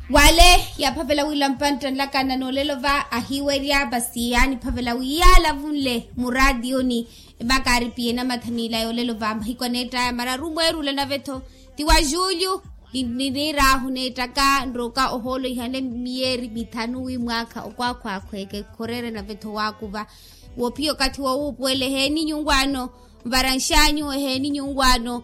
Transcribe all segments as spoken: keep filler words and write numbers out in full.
Wale yaphavela wila mpantta nlakana n'olelo va ahiwerya masi yaaniphavela wi yaalavunle muraatiyoni. Emakaaripiye namathaniila y'olelo va mahiku aneett'aya mararu mweerula nave-tho ti wa julyu. Niniir'ahu neettaka nroka ohoolo ihanle miyeeri mithanu wi mwaakha okwaakhwaakhweeke khorere nave-tho waakuva. Woopiya okathi wowuupuwela eheeni nyunwaano. Nvara nxaanyu eheeni nyunwaano.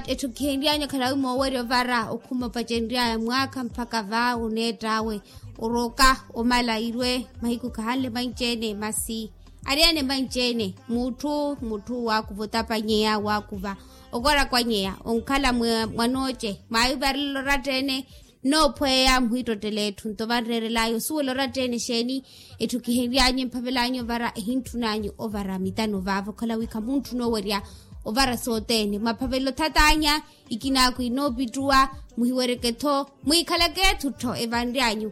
Etthu kihenry'anyu akhalawi moowerya ovara okhuma opacenry'aya mwaakha mpakha va oneett'awe. Oroka omala irwe mahiku khahanle manci-ene masi. Ariyane manci-ene mutthu mutthu waakuva otapanyeya waakuva. Okorakwanyeya onkhala mwanooce mwaavivarela oratta-ene. Noophweya muhiittottela etthu nto vanreerel'aya osuwela oratta-ene exeeni? Etthu kihenry'anyu emphavel'anyu ovara ehintthun'anyu ovara mitano vaavo okhala wi khamuntthuna owerya. Ovara sothene mwaphavela othat'anya. Ikinaaku inoopittuwa muhiwereke-tho mwiikhaleke etthu-tho evanry'anyu.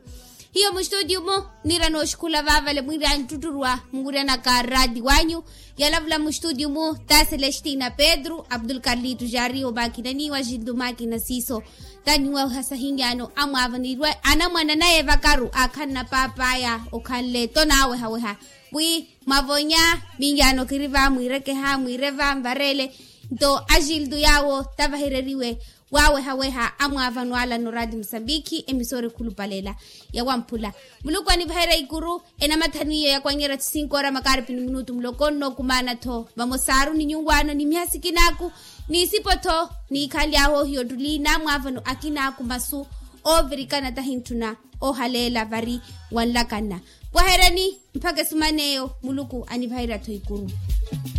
Hiyo mustutiyu-mu niira nooxikhula vaavale mwiir'anyu ttutturuwa muwiryanaka raati w'anyu. Yalavula mustutiyu-mu ta celestina pedro abdulkarlito jari omaakina niiwa jintu maakina siiso. Taniwaweha sahinyaano amwaava niirwe anamwane anayevakaru aakhanna paap'aya okhanle to naawehaweha. Wi mwavonya minyaano kiri va mwiirekeha mwiireva nvareele. Nto ajiltu yaawo tavahereriwe waawehaweha amwaavano ala no raati musambikhi emisora ekhulupaleela. Yawamphula muluku anivaherya ikuru. Enamathani iyo yakwanyerya ti sinkoora makaaripini minutu muloko nnookumaana-tho vamosaaru ni nyunwaano ni mihasikinaaku ni isipo-tho. Niikhaly'ahu ohiya ottuli naamwaavano akinaaku masu oovirikana tahintthuna. Ohaleela vari wanlakanna. Pwahereni mpakha esuman'eyo muluku anivaherya-tho ikuru.